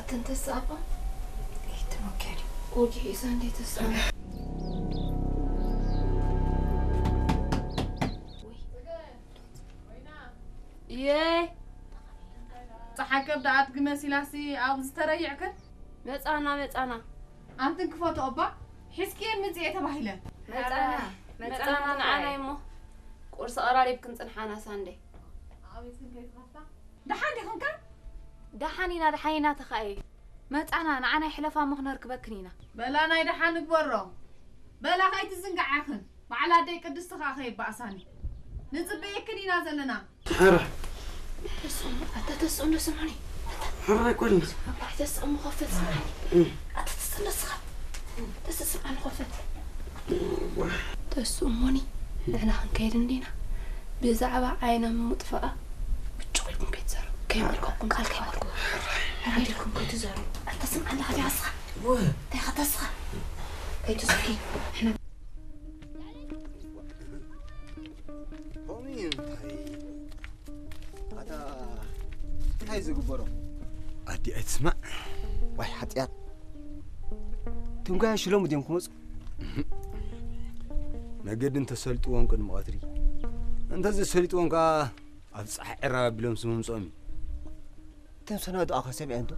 ተንተስ ኣባ ይትመከሪ። ወጊ ኢዛ እንዴ ተስኣ። እየ። ጸሓይ ከብዳ ኣድጊ መሲላሲ ኣብ ዝተረይዕክን? መጻና፣ መጻና። ኣንትን ክፈትኦ እባ፣ ሕዝቅኤል ምጽኤ ተባሂለ። መጻና፣ መጻና፣ መጻና ንዓና ንዓይ። እሞ ቁርሲ ቀራሪብክን ጽንሓና ሳንዴ። ኣቤት ክንከይ ትኸፍታ? ደሓን ዲኹም ከ? ደሓን ኢና፣ ደሓን ኢና ተኻእየ። መጻና፣ ንዓና ይሕለፋ እሞ ክነርክበክን ኢና። በላ ናይ ደሓን ንግበሮ። በላ ከይትዝንግዓኽን። በዓል ኣደይ ቅድስቲ ኸኣ ከይበኣሳኒ። ንጽበየክን ኢና ዘለና። ሕረ። ተስኡ፣ ኣታ ተስኡ እንዶ ስምዑኒ። ኣታ ሕረ ኣይኮንና። ኣብ ባሕቲ ተስኡ ምኸፈት ስምዓኒ። እም። ኣታ ተስኡ እንዶ ስኻ። ተስኡ ስምዓኒ ኸፈት። እዋ። ተስኡ እሞኒ፣ ንሕና ክንከይድ እንዲና። ብዛዕባ ዓይና ምጥፋኣ ብጭቕ ኢልኩም ከይትዛረቡ። ከይመልከኩም ቃል ከይመልኩ። ሕረ ኢልኩም ከይትዛረቡ። ኣታ ስምዓኒ፣ ኣታ ስኻ። እዋ። እንታይ ኸ ተስኻ? ከይትስኪ። ንሕና ከምኡ እዩ። እንታይ? ኣታ እንታይ ዝግበሮ? ኣዲ ኣይትስማዕ። ዋይ ሓጢኣት። ትንጓያ ሽሎሙ ድዮም ክመፁ? መገዲ እንተሰልጥዎም ቅድሚ ቀትሪ፣ እንተዘይሰሊጥዎም ከዓ ኣብ ፀሓይ ዕራብ ኣቢሎም ስምምፅኦም እዩ። እቶም ሰናይ ዶኣ ከ ሰሚዐ እንዶ?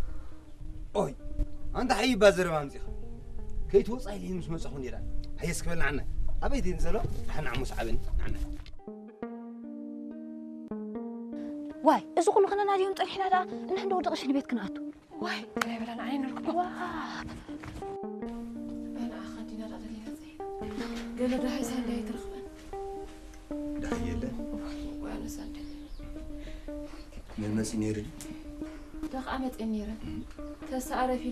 ኦይ፣ ኣንታ ሓይባ ዘረባ ኣምጺኻ። ከይትወጻ ኢለ ምስ መጻኹ ነይራ። ሃየስ ክበል ንዓና። ኣበይ ድየን ዘሎ? ደሓን ንዓሞ ሰዓበኒ፣ ንዓና። ዋይ፣ እዚ ኩሉ ክነናድዮም ጸኒሕና ደኣ፣ እንሕንዶ ወዲ ቅሽን ቤት ክንኣቱ። ዋይ፣ ናይ በላን ዓይኒ ንርክቦ። ዋ። በላ ኣኻ ዲና ደኣ ደሊና ጸይ። ገለ ደሃይ ሳንዳይ ትረኽበን። ደሃይ የለን። ዋይ፣ ኣነ ሳንዳይ። መን መጺ ነይሩ ድዩ? ደኣ ኸዓ መጺኤን ነይረ። እም። ተስኣ ረፊዱ